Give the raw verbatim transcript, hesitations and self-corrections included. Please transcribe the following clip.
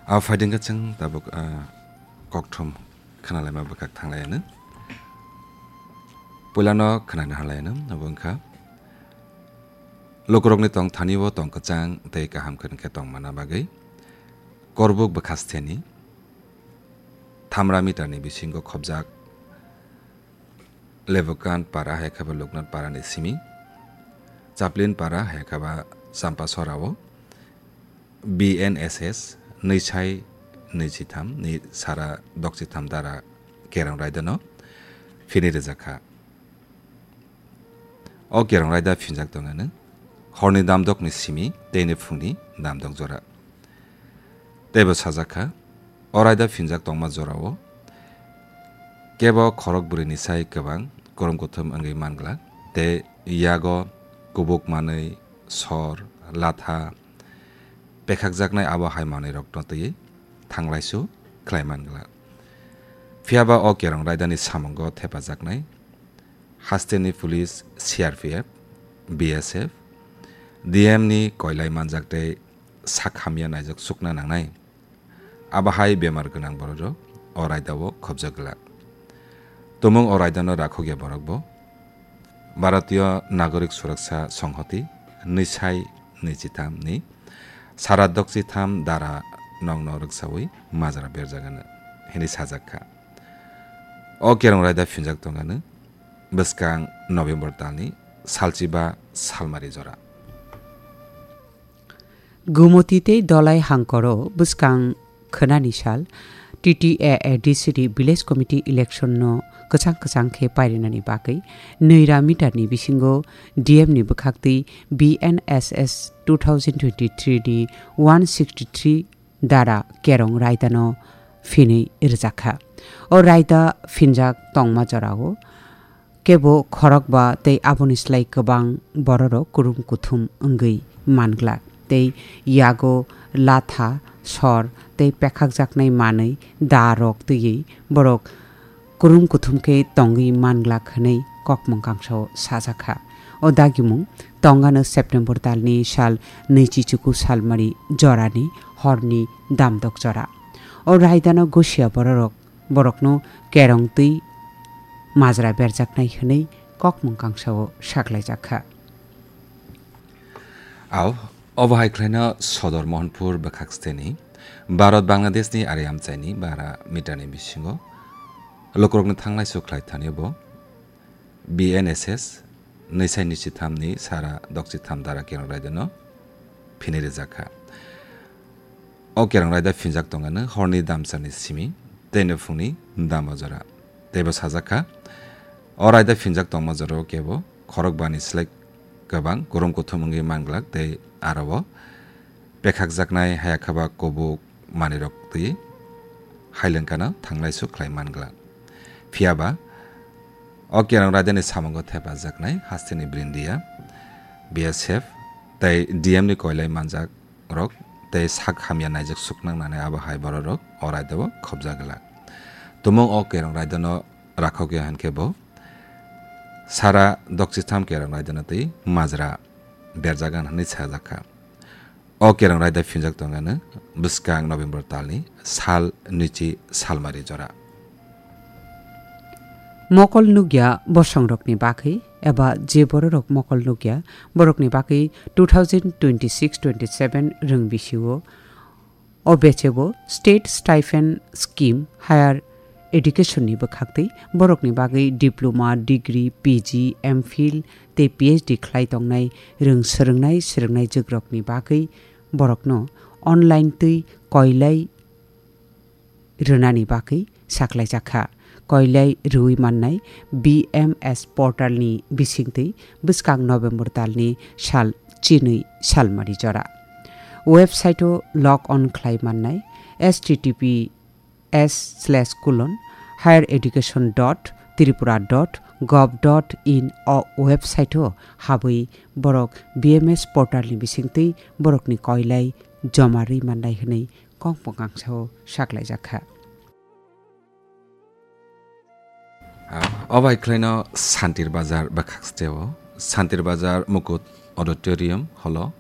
A phaidingkha chwng tabuk, ah, kokthum khnalaima bwkhak thanglaiano. Puilano khnani hanlaiano, abo wngkha lukurokni tong thani-o tong kwchang tei kaham khe tongmana bagwi Korbuk bwkhasteni thamra meter ni bisingo khobjak Lebukan para hai khe ba Luknat para ni simi, Chaplin para hai khe ba Champasora o B N S S nwi sai nwi chitham ni sara dok chitham dara kerong raida no phini rijak kha. O kerong raida phinjak tong ano horni damdok ni simi tei ni phungni damdok jora. Teibo sajak kha, o raida phinjak tongma jorao kebo khorok bwrwini sai kwbang kurum kuthum wngwi man glak, tei yago kubuk manwi, sor, latha, pekhakjaknai abo hai manwirokno twiwi thanglaisu khlai man glak. Phiya ba o kerong raidani samungo thepajaknai hasteni police, C R P F, B S F, D M ni koilai manjak tei sak hamya naijak sukna nangnai. Abo hai bemar gwnang bororok o raidao khobjak glak. Tumung o raidano rakhokya borok bo Bharatiya Nagorik Suraksa Songhoti nwi sai nwi chitham ni sara dok chitham dara nokno rwksawi majra berjak ano hwnwi sajak kha. O kerong raida phinjak tong ano bwskang November talni salchiba salmari jora. Gumoti tei Dolai hangkoro bwskang khwnani sal T T A A D C ni Village Committee election no kwchang kwchang khe pairinani bagwi nwi ra meter ni bisingo D M ni bwkhaktwi B N S S two thousand twenty-three ni one sixty-three dara kerong raidano phinwi rwjakha. O raida phinjak tongma jorao kebo khorokba tei aboni slai kwbang bororok kurum kuthum wngwi manglak tei yago latha, sor tei pekhakjaknai manwi da rok twiwi borok kurum kuthum khe tongwi manglak hwnwi kokmung kangsao sajakha. O dagimung tongano September talni sal nwichi chuku salmari jorani horni damdok jora. O raidano gosia bororok borokno kerong twi majra berjaknai hwnwi kokmung kangsao saklaijakha. Ao, obo hai khlaino Sodor Mohanpur bwkhak steni Bharat Bangladeshni ari amchaini bara meterni bisingo lukurokni thanglai sukhlai thani bo B N S S nwi sai nwi chitham ni sara dok chitham dara kerong raidano phini rijak kha. O kerong raida phinjak tongano horni damsani simi tei no phungni damba jora. Teibo sajak kha, o raida phinjak tongma jorao kebo khorokbani slai kwbang kurum kuthum wngwi manglak tei aro o pekhakjaknai hayakhaba kubuk manwirok twi hailengkano thanglaisu khlai manglak. Phiya ba, o kerong raidani samungo thepajaknai hasteni brindia, B S F tei D M ni koilai manjak rok tei sak hamya naijak suknang nani abo hai bororok o raidao khobjak glak. Tumung o kerong raidano rakhokya hinkhe bo sara dok chitham kerong raidano twi majra berjagan hwnwi sajak kha. O kerong raida phinjak tongano bwskang November talni sal nwichi salmari jora. Mokol nukya bosongrokni bagwi eba je bororok mokol nukya borokni bagwi two thousand twenty-six twenty-seven rwng bisio o bechebo State Stipend Scheme Higher Education ni bwkhaktwi borokni bagwi diploma, degree, P G, M Phil tei P H D khlai tongnai rwng swrwngnai swrwngnai jwkrokni bagwi borokno online twi koilai rwnani bagwi saklaijakha. Koilai rwui mannai B M S portal ni bisingtwi bwskang November talni sal chinwi salmari jora. Website o log on khlai mannai H T T P S slash colon higher education dot tripura dot gov dot in o website o habwi borok B M S portal ni bisingtwi borokni koilai joma rwi mannai hwnwi kokmwkangsa o saklaijak kha. Ah, o bai khlaino Santir Bazar bwkhaksteo, Santir Bazar Mukut Auditorium holo